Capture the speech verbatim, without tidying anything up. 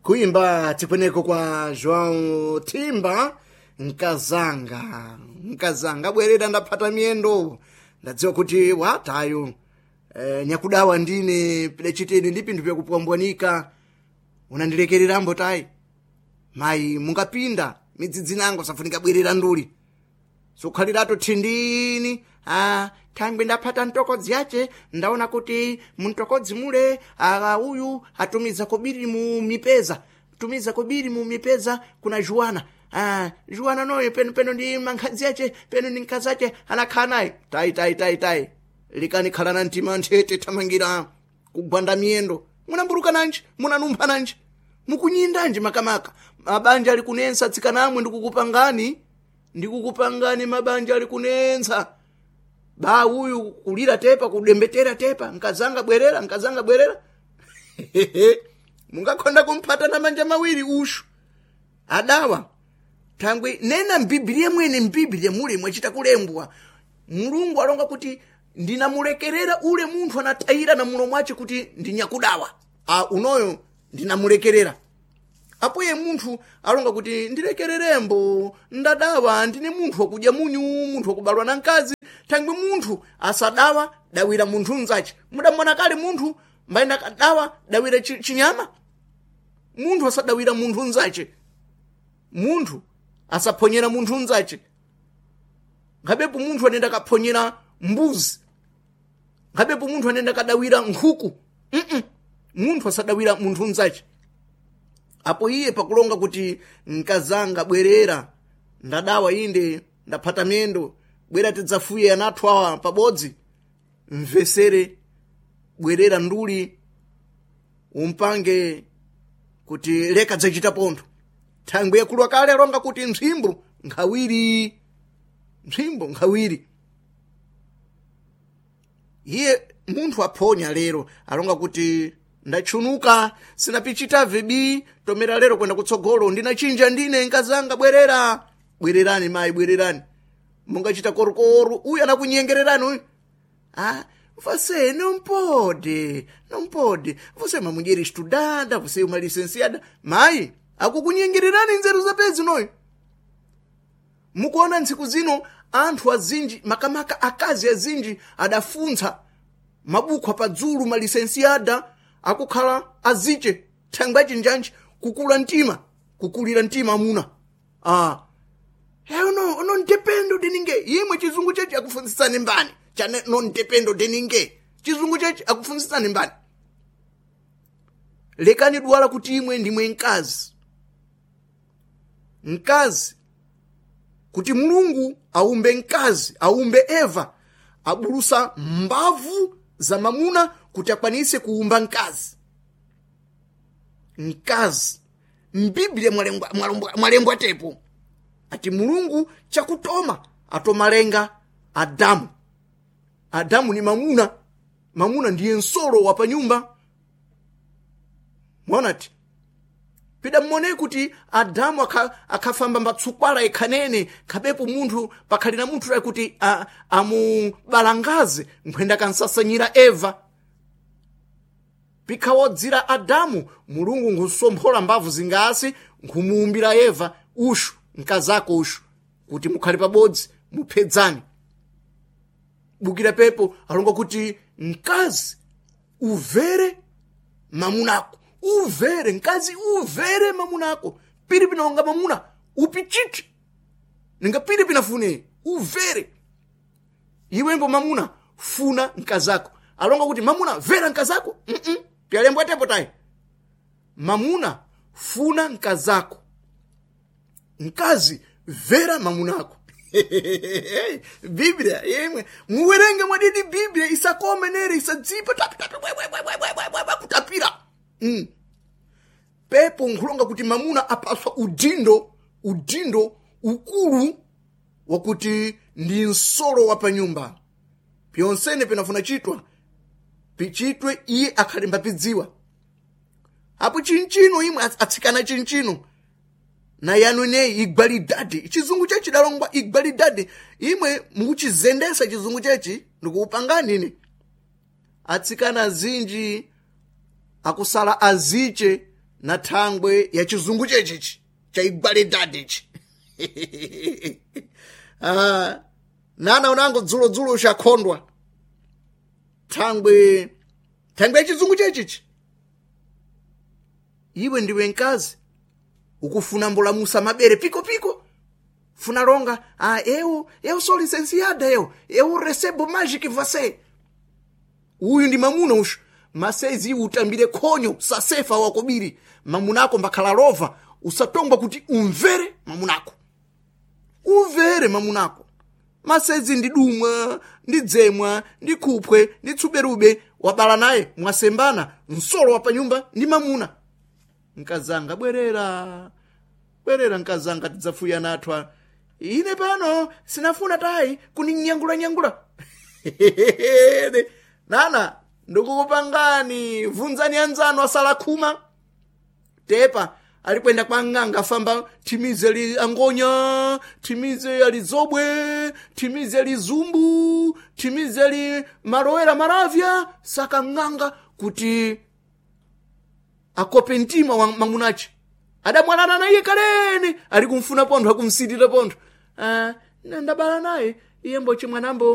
Kuimba tikweneko kwa João Timba, nkazanga nkazanga bwerera, ndaphata miyendo, ndadziwa kuti watayo e, nyakudawa ndine pidachitene ndi pinthu pyakupwambwanika, unandilekererambo tayi mayi, mungapinda midzidzi nango safunika bwerera nduli sukhalirato thindini. Ah, thangwe ndaphata mtokodzi yace, ndaona kuti mumtokodzi mule ah, uyu atumiza kobiri mu mipeza, tumiza kobiri mu mipeza kuna Juana. Ah, Juana noyo peno peno ndi mankhadzi yace, peno ndi mkazi ace anakhala naye tayi tayi tayi tayi, likani khala na mtima nthete, thamangira kugwanda miyendo. Munamburuka nanji? Munanumpha nanji? Mukunyindanji? Makamaka mabanja ali kunensa, atsikanamwe, ndikukupangani ndikukupangani mabanja ali kunensa ba uyu kulira tepa, kudembetera tepa, nkazanga bwerera, nkazanga bwerera. Mungakhonda kumphata na manja mawiri ushu adawa thangwe nena mbiblia mwene, mbiblia mule mwachita kulembwa, Mulungu alonga kuti ndinamulekerera ule munthu anatayira na mulomo wace kuti ndinyakudawa a unoyo ndinamulekerera. Apoye munthu alonga kuti ndilekererembo, ndadawa ndine munthu wakudya munyu, munthu wakubalwa na mkazi. Thangwe munthu asadawa dawira munthu mzace, mudamona kale munthu mbayenda kadawa dawira chinyama? Munthu asadawira munthu mzace, munthu asaphonyera munthu mzace. Nkhabepo munthu anenda kaphonyera mbuzi, nkhabepo munthu anenda kadawira nkhuku. mm -mm. Munthu asadawira munthu mzace. Apo iye pakulonga kuti nkazanga bwerera, ndadawa inde, ndaphata miyendo, bwera tidzafuye anathu awa pabodzi. Mvesere, bwerera nduli umpange kuti leka dzachita pontho. Thangwe yakulwa kale alonga kuti mphimbo nkhawiri, mphimbo nkhawiri. Iye munthu aphonya lero alonga kuti ndachunuka, sinapichita vibi, tomera lero kwenda kutsogolo ndinachinja ndine, nkazanga bwerera. Bwererani mayi, bwererani, mungachita korokoro uyu anakunyengererani uyu. Ah, você não pode, não pode, você é uma mulher estudada, você é uma licenciada. Mayi akukunyengererani nzeru zapezi noyo. Mukuona ntsiku zino anthu azinji, makamaka akazi azinji, adafuntsa mabuku apadzulu, malisensiada, akukhala aziche thangwe achinjanji kukula mtima, kukulira mtima amuna. Ah, eu no non dependo de ninguém. Imwe chizungu chechi akufunzitsani mbani chane non dependo de ninguém? Chizungu chechi akufunzitsani mbani? Lekani dwala kuti imwe ndimwe mkazi, mkazi kuti Mulungu aumbe mkazi, aumbe Eva, abulusa mbavu za mamuna kuti akwanise kuumba mkazi. Mkazi mbiblia mwalembwa, mwalembwa, mwalembwa tepo ati Mulungu chakutoma atomalenga Adamu. Adamu ni mamuna, mamuna ndiye nsolo wa panyumba. Mwaonati pida mmone kuti Adamu akhafamba mbatsukwala ikhanene, khabepo munthu pakhali na munthu kuti amubalangaze nkhwenda kansasanyira Eva. Pikhawodzira Adamu, Mulungu nkusomphola mbavu zingasi, nkhumuumbira Eva ushu mkazako ushu kuti mukhale pabodzi muphedzani. Bukira pepo alonga kuti mkazi uvere mamunako, uvere mkazi, uvere mamunako piri pinonga mamuna upichichi ninga piri pinafune uvere iwembo mamuna funa mkazako. Alonga kuti mamuna vera mkazako. mm -mm. Pyalembwa tepo tayi mamuna funa mkazako, mkazi vera mamunako. Biblia yemwe muwerenge mwadidi Biblia isakome nere isadzipa tapi tapi kutapira. mm. Pepo nkhulonga kuti mamuna apaswa udindo, udindo ukulu wakuti ndi nsolo wa panyumba, pyonsene pinafuna chitwa pichitwe iye akhalemba pidziwa. Apo chinchino imwe atsikana chinchino na yanu ineyi igwalidade chizungu chechi dalongwa igwalidade imwe mukuchizendesa chizungu chechi ndikuupangani ine. Atsikana azinji akusala aziche. Na thangwe ya chizungu chechichi chaigwaledadichi. Ah, nana unango dzulodzulo uchakhondwa thangwe thangwe ya chizungu chechichi. Iwe ndiwe mkazi ukufuna mbolamusa mabere piko piko funa longa, ah, eu eu sou licenciada, eu eu recebo mais que você. Uyu ndi mamuna ushu masezi utambire khonyo sasefa wakobiri mamunako mbakhala lova usatongwa kuti umvere mamunako, umvere mamunako. Masezi ndi dumwa, ndi dzemwa, ndi khuphwe, ndi tsuberube wabala naye mwasembana msolo wa panyumba ndi mamuna. Nkazanga bwerera, bwerera nkazanga, tidzafuya nathwa ine pano sinafuna tayi kuninyangulanyangula. Nana ndikukupangani vunzani anzanu asala khuma tepa alikwenda kwa ng'anga famba thimize li angonya, thimize alizobwe, thimize lizumbu, thimize li malowera maravya saka ng'anga kuti akope mtima wa mamunache adamwalana naye kalene ali kumfuna pontho akumsitira pontho. Ah, ndabala naye iye mboche mwanambo.